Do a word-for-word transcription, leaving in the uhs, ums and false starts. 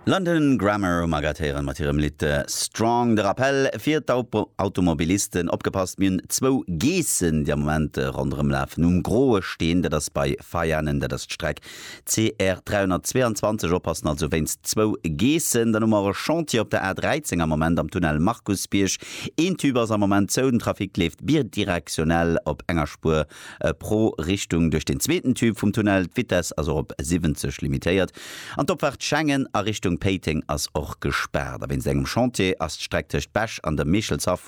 London Grammar hu mer grad héieren mat hirem Lidd Strong. De Rappell fir d'Automobilisten, opgepasst, mir hunn zwou Geessen, déi am Moment ronderëm lafen um Groe Steen, dat ass bei Veianen, dat ass d'Streck C R dräihonnertzweeanzwanzeg. Oppassen also wéinst zwou Geessen. Dann hu mer e Chantier op der A dräizéng am Moment am Tunnel Markusbierg. Een Tube ass am Moment zou, den Trafic leeft bidirektionell op enger Spuer pro Richtung duerch den zweeten Tube vum Tunnel. D'Vitess ass och op siwwenzeg limitéiert. An d'Opfaart Schengen a Richtung Péiteng ass och gespaart. A wéinst engem Chantier ass d'Streck tëscht Bech an dem Michelshaff